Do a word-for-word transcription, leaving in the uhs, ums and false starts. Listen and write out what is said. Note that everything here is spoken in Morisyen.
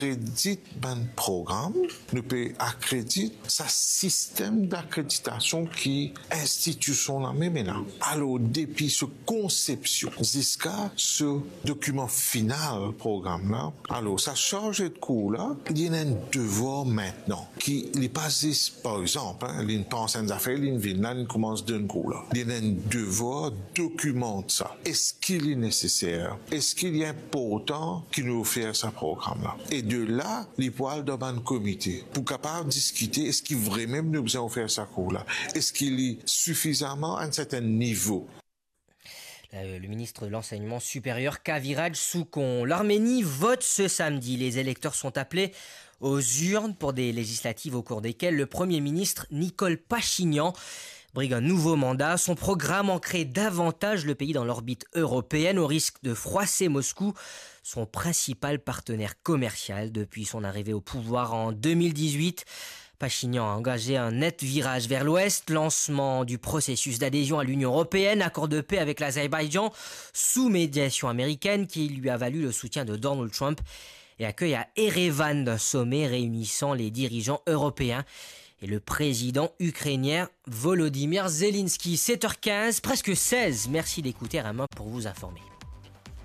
akredit bann program, nou pe akredit sa sistem dakreditasion ki institision la mem ena. Alor, depi so konsepsion ziska so dokiman final program la, alor, sa sarze de kour la, li ena enn devwar mintnan, ki li pa zis, par exanp, hein, li'nn pans enn zafer, li'nn vinn la, li'nn koumans donn kour la. Li ena enn devwar dokimant sa. Eski li neseser? Eski li inportan ki nou ofer sa program la? E de la, li pou al dan bann komite pou kapav diskite, eski vremem nou bizin ofer sa kour la? Eski li sifizaman a enn sertenn nivo? Le, le ministre de l'Enseignement supérieur, Kaviraj Soukon. L'Arménie vote ce samedi. Les électeurs sont appelés aux urnes pour des législatives au cours desquelles le Premier ministre Nikol Pachinian brigue un nouveau mandat. Son programme ancre davantage le pays dans l'orbite européenne, au risque de froisser Moscou, son principal partenaire commercial depuis son arrivée au pouvoir en deux mille dix-huit. Pachinian a engagé un net virage vers l'ouest, lancement du processus d'adhésion à l'Union européenne, accord de paix avec l'Azerbaïdjan sous médiation américaine qui lui a valu le soutien de Donald Trump et accueil à Erevan d'un sommet réunissant les dirigeants européens et le président ukrainien Volodymyr Zelensky. Sept heures quinze, presque seize. Merci d'écouter R M un pour vous informer.